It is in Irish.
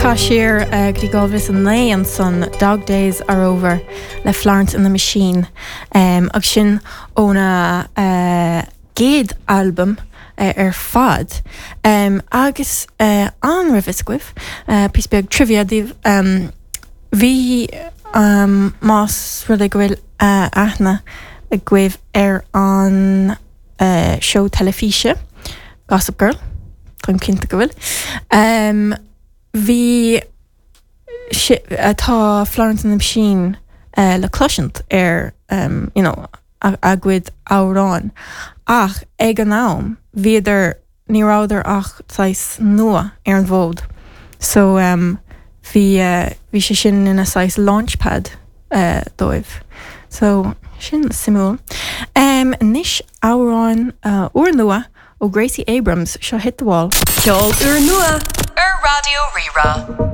Chaith siar go dtí 2009 ansan, Dog Days Are Over le Florence and the Machine agus sin óna gcéad albam ar fad. Agus an raibh fhios agaibh, píosa beag trivia daoibh, bhí, más rud é go bhfuil aithne agaibh ar an seó teilifíse Gossip Girl, táim cinnte go bhfuil, bhí, tá Florence and the Machine le cloisint ar you know a gcuid amhráin ach ag an am bhíodar, ní rabhadar ach saghas nua ar an bhfód so bhí, bhí sé sin ina saghas launch pad dóibh. So sin suimiúil. Anois amhrán úrnua ó Gracie Abrams, seo Hit the Wall. Ceol úrnua ar Raidió Rí-Rá.